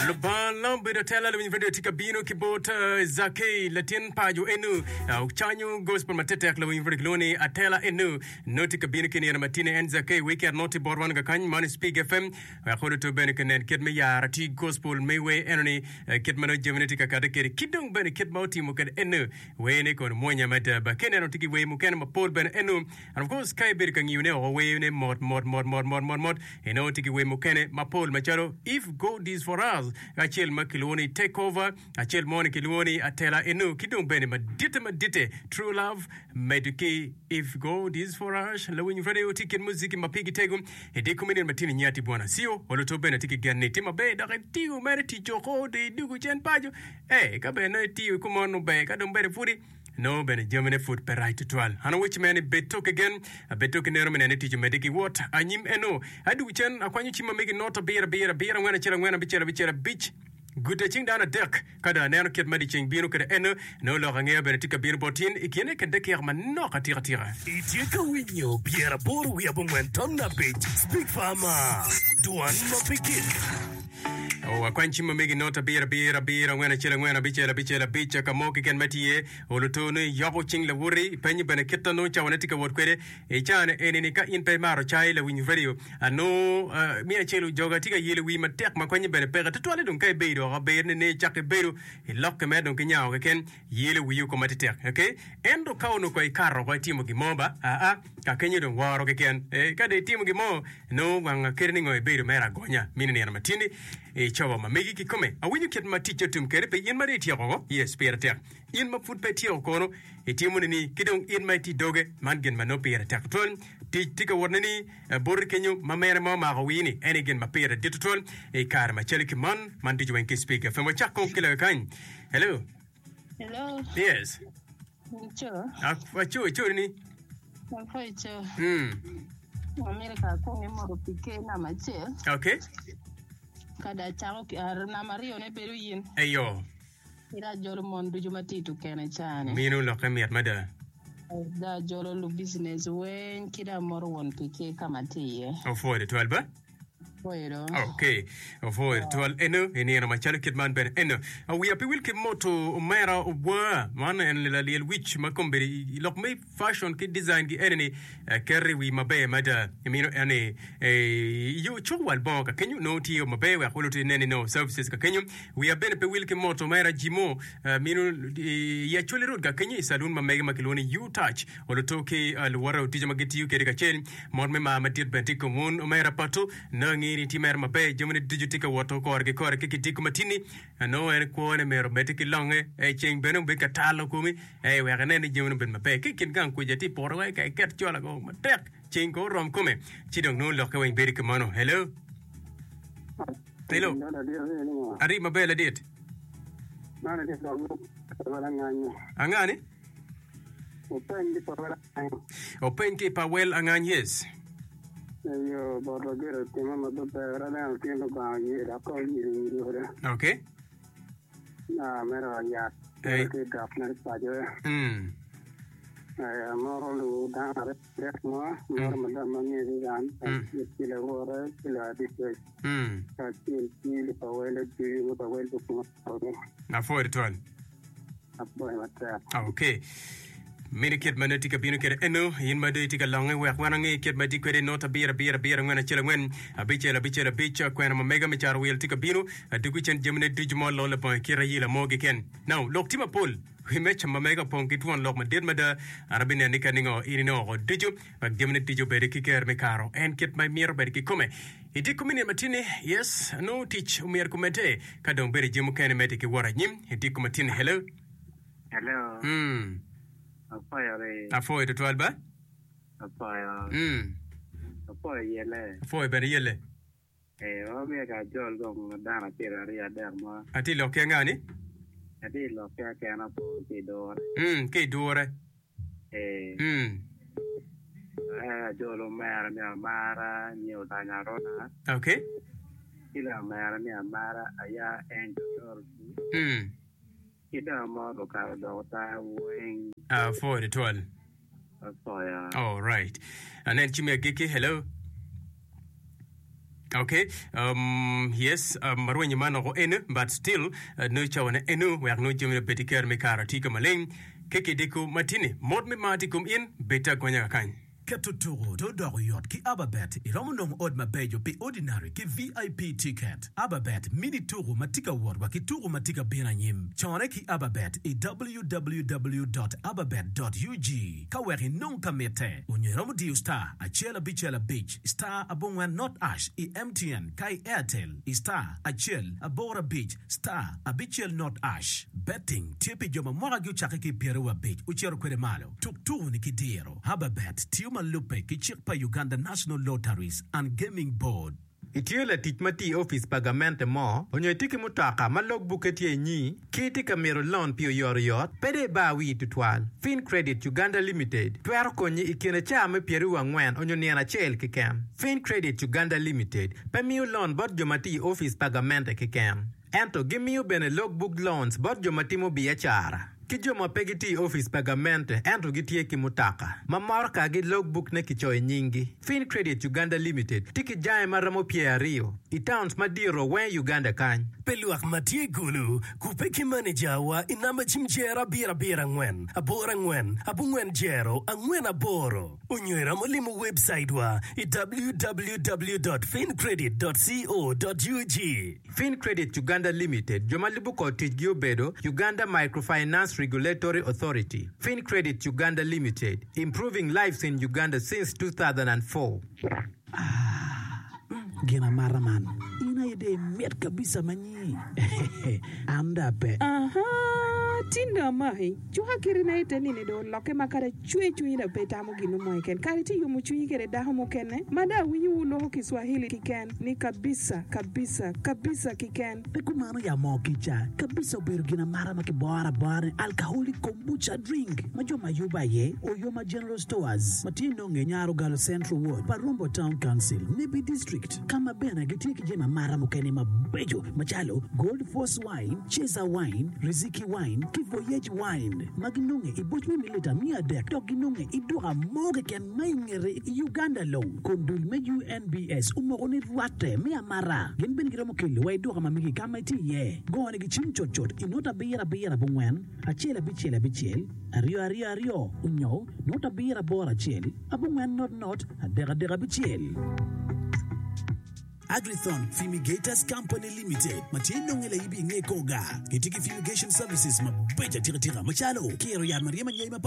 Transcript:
Lubanga la obedo atela lawiny radio tye ka bino ki bot eh, Zakei latin paco enu Ah, ocanyo gospel matetek lawiny radio kilwongo ni atela enu nongo tye ka bino ki nino matine en Zakei weekend nongo tye bot wan kakany man Spig FM wek oluto bene kinen kit me yaro ti gospel me wer eno ni eh, kit ma nongo jamine tye ka kate kwede ki dong bene kit ma otimo kwede enu werne kono mwonya mada ba ka ineno tye ki wer mukene mapol bene enu and of course ka ibedo ka ngiyone oko werne mot mot mot mot mot mot mot inongo tye ki wer mukene mapol macalo If God is for us acel ma kilwongo ni Take Over acel mo ni kilwongo ni Atela enu ki dong bene maditte maditte True Love medo ki If God is for us lawiny radio tye i kin muziki ma pigi tego i dye komi nino matino inyati Bwana Cio oluto bene atye ki gen ni itye maber dok itiyo mere tic oko dong idwogo cen paco. Ee, ka bene nongo itiyo kumeno nongo ber, ka dong bene pudi nongo bene jamine pud pe rac tutwal. An awecci mere ni bed tok ki gen, bed tok ki neno me neno ni tic omedde ki wot anyim eno. Adwogo cen akwanyo cim ma megi not abiro abiro abiro angwen acel angwen abicel abicel abic guta cing dano adek. Ka dong aneno kit ma dyeceng bino kwede eno, nongo lok angeya bene tye ka bino bot in i kine ki dakika manok atika tika. Itye ka winyo 85 Speak Farmer, Dwan ma pe gik. Oh, akwany cim ma megi not abiro abiro abiro angwen acel angwen abicel abicel abic ka mo keken ma tye iye. Oluto ni yoko cing lawoti, ipenyo bene kit ma nongo cawane tye ka wot kwede. I caa-ni eni-ni ka in pe imaro cai lawiny radio, anongo miyo acel ojoga tye ka yelo wii matek ma konye bene peke. Tutwalle dong ka ibedo oko aber ni ne icako ibedo ilokke mere dong ki nyango keken yelo wii oko matetek. Okay? Ento ka onongo kong ikato oko itimo gin mo ba, aa, ka kenyo dong woro keken. Eh, ka dong itimo gin mo, nongo wang kadi ni ngo ibedo mere agonya mini nino matini i cobo ma megi kikome. Awinyo kit ma ticce otum kwede pi in ma dong ityeko oko. Yes, pire tek. In ma pud pe ityeko kono, itimo nini? Ki dong in ma itye i doge, man gin ma nongo pire tek tutwal. Tic tye ka wot nini boti kenyo ma mere ma omako wii-ni? En aye gin ma pire dit tutwal i kare macalo ki man. Man ducu weng ki Speak FM. Wacak kong ki loyo kany. Hello. Hello. Yes. Ico. Aco, ico nini? Apo ico. Mm. Amito ka akwong imoto pi ker namba acel. Okay. Ka dong acako namba aryone bedo in. Eyo. Ira ajolo mon ducu ma tye i tukene ca-ni. Mino lokke mit mada. Dong ajolo lubicinec weng ki dong amoto won pi ker ka ma atye iye. Opwoyo tutwal ba. Opwoyo do. Ok, opwoyo tutwal eno i nino macalo kit man bene eno. Wiya pe wil ki moto omera obwa man en lalyel wic ma kombeddi i lok me Fashion ki design gi eni ni keto i wi maber mada imino en ni yo cuk wal bongo ka kenyo nongo tye maber wek oluti inen ni nongo services ka kenyo wiya bene pe wil ki moto mera jimo mino i Acholi road ka kenyo i saloon ma mege ma kilwongo ni U touch oluto ki luwote otico ma gitiyo kede kacel mot me mar madit bene tye i kom wun omera pato nongo angeyo ni tye mere maber jamine ducu tye ka woto kore ki kore ki kidiko matini nongo en kwone myero omedde ki longe ceng bene obed ka talo komi Ee, wek inen ni jamine obed maber. Ki i kin gang kuca tye i poto wek iket cola ko matek, ceng ko orom kome, ci dong nongo lokke weng bedo kimono. Hello? Hello? Ari maber ladit. Anga ni? Openy ki pa wel angany, yes. Okay. Amito yat Ei. ki dok mere paco. Mm. Eh, amoro luwo dano adek mo, amoro madam ma nge Susan, kacel ki lawote ki ladicec, Mm. kacel ki lupawele ducu ma pawel gupungo ode. Apwoyo tutwal. Apwoyo matek. Ok. Mini kit ma nongo tye ka bino kwede eno, in ma dong itye ka longe wek wan wange kit ma itye kwede not abiro abiro abiro angwen acel angwen abicel abicel abic kwena ma mega me caro wil tye ka bino adugu cen jamine ducu ma olol labongo i kit ayila mo keken. Now, lok tye mapol wi meja ma mega opong ki twon lok madit mada. An abineno ni ka ningo in inongo woko ducu wek jamine ducu obed ki ker me karo en kit ma imito bedo kikome. Itye komi nino matini? Yes, nongo tic omyero kumedde ka dong bedo jami mukene medde ki wot anyim. Itye komi matini? Hello. Hello. Mm. Apwoyo ri. Apwoyo tutwal ba. Apwoyo. Mm. Apwoyo yelle. Apwoyo bene yelle. Eh, wamiyo ka ajol gong dano acel aryo adek mo. Atye lok ki anga ni? Atye lok ki akena po ki idure. Mm, ki idure. Eh. Mm. Eh, ajol omera me amara nyo olanya arona. Okay. Ki omera me amara aya Angel Dorothy. Mm. Ki dong mot okato dok ota weng. Apwoyo tutwal. Apwoyo. All right. Anen cim i agikki. Hello. Ok um yes um arwenyo man oko eno but still nongo cawa ne eno wek nongo jami ne obed ki kero me karo tye ka maleng ki kidiko matini mot me mar tye i kom in bed te agonya kakany. Keto tuku to doko yot ki Ababet. Iromo nongo ot mabeco pi Ordinary ki VIP ticket. Ababet mini tuku ma tye ka wot wa ki tuku ma tye ka bino anyim. Cone ki Ababet i www dot ababet dot ug ka wek inong ka mitte. Onyo iromo diyo star acel abicel abic star abongwen not ash i MTN ka i Airtel i star acel aboro abic star abicel not ash. Betting tye pi jo ma mwakagi ocakke ki i pyeraryo abic ocito kwede malo. Tuk tuku-ni ki diro. Hababet tiyo ma lubbe ki cik pa Uganda National Lotteries and Gaming Board. Itye latic ma tiyo i opic pa gamente mo, onyo itye ki mutoka ma log bukke tye inyi, ki itye ka mito lon pi oyotoyot, pe dong ibar wii tutwal. Fincredit Uganda Limited twero konyi i kine caa me pyeraryo angwen onyo nino acel keken. Fincredit Uganda Limited pe miyo lon bot jo ma tiyo i opic pa gamente keken. Ento gimiyo bene log book loans bot jo ma timo biacara ki jo ma pe gitiyo i opic pa gamente ento gitye ki mutoka ma morokagi log book ne kicoyo nyinggi. Fincredit Uganda Limited tye ki jange ma romo pyeraryo i towns madito weng i Uganda kany. Pi lwak ma tye i Gulu, kubbe ki manejawa i namba cim jero abiro abiro angwen aboro angwen abongwen jero angwen aboro. Onyo iromo limo webcaitwa i www dot fincredit dot co dot ug. Fincredit Uganda Limited, jo ma lubo kor ticgi obedo, Uganda Microfinance Regulatory Authority, Fincredit Uganda Limited, improving lives in Uganda since 2004. Ah, gin amata man. In aye dong imit kabisa ma nyi. An dong ape. Ahaa, tin dong amaki. Cuka kirina ite nini dong olokke ma kadi acwe cwinyi dong pe itamo gin mo keken. Kadi itye yomo cwinyi kede dako mukene ma dong awinyo wu loko Kiswahili kiken ni kabisa, kabisa, kabisa kiken. Pe kumano ya moo kica. Kabisa obedo gin amata ma kiboro abora ni alcoholic kombucha drink ma jo ma yubo aye Oyoma General Stores ma tye nonge Nyarogalo Central Ward, Parombo Town Council, Nebbi District ka ma bene gitye ki jami amata mukene mabeco macalo Gold Force Wine, Ceza Wine, Riziki Wine ki Voyage Wine ma ginonge i boc me mililita 300 dok ginonge i duka mo keken ma i ngete i Uganda long kun dul me UNBS omoko ni rwatte me amata. Gin bene giromo kelo wa i duka ma megi ka ma itye iye. Gone gi cim cutcut i not abiro abiro abongwen, acel abicel abicel, aryo aryo aryo onyo not abiro aboro acel abongwen not not adek adek abicel. Agrithon Fumigators Company Limited ma tye nonge laibi i nge kor gar gitye ki fumigation services mabeco atika tika macalo kiro yat ma ryemo anyai mapat.